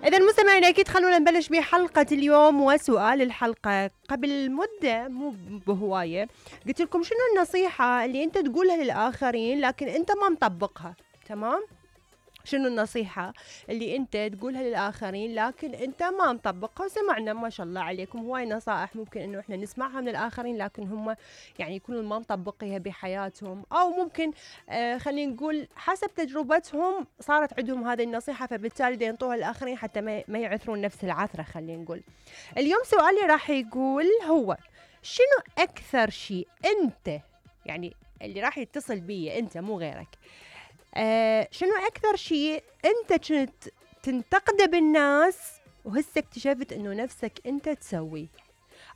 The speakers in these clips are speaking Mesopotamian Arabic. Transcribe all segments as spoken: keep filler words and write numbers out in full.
إذا المستمعين أكيد خلونا نبلش بحلقة اليوم. وسؤال الحلقة، قبل مدة مو بهواية قلت لكم شنو النصيحة اللي أنت تقولها للآخرين لكن أنت ما مطبقها؟ تمام؟ شنو النصيحة اللي أنت تقولها للآخرين لكن أنت ما مطبقها؟ وسمعنا ما شاء الله عليكم هواي نصائح ممكن إنه إحنا نسمعها من الآخرين لكن هم يعني يكونوا ما مطبقيها بحياتهم، أو ممكن آه خلينا نقول حسب تجربتهم صارت عندهم هذه النصيحة فبالتالي دي ينطوها للآخرين حتى ما ما يعثرون نفس العثرة. خلينا نقول اليوم سؤالي راح يقول هو شنو أكثر شيء أنت يعني اللي راح يتصل بي أنت مو غيرك آه شنو أكثر شيء أنت كنت تنتقده بالناس وهسه اكتشفت إنه نفسك أنت تسوي؟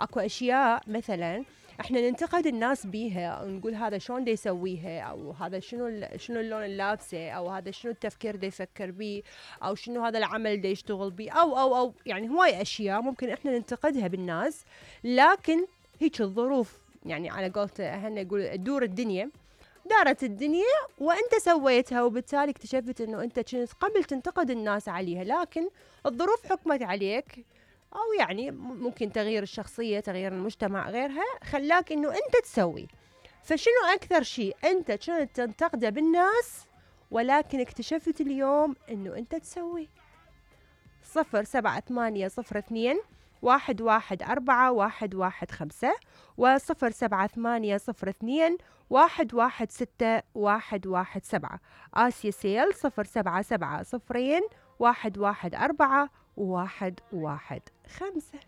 أكو أشياء مثلا إحنا ننتقد الناس بيها أو نقول هذا شلون دي يسويها، أو هذا شنو شنو اللون اللابسه، أو هذا شنو التفكير دي يفكر بيه، أو شنو هذا العمل دي يشتغل بيه، أو أو أو يعني هواي أشياء ممكن إحنا ننتقدها بالناس، لكن هيك الظروف يعني على قولته أهلنا يقول تدور الدنيا، دارت الدنيا وانت سويتها، وبالتالي اكتشفت انه انت كنت قبل تنتقد الناس عليها لكن الظروف حكمت عليك، او يعني ممكن تغيير الشخصية، تغيير المجتمع، غيرها خلاك انه انت تسوي. فشنو اكثر شيء انت كنت تنتقده بالناس ولكن اكتشفت اليوم انه انت تسوي؟ صفر سبعة ثمانية صفر اثنين واحد واحد أربعة واحد واحد خمسة وصفر سبعة ثمانية صفر اثنين واحد واحد ستة واحد واحد سبعة. آسيا سيل صفر سبعة سبعة صفرين واحد واحد أربعة واحد واحد خمسة.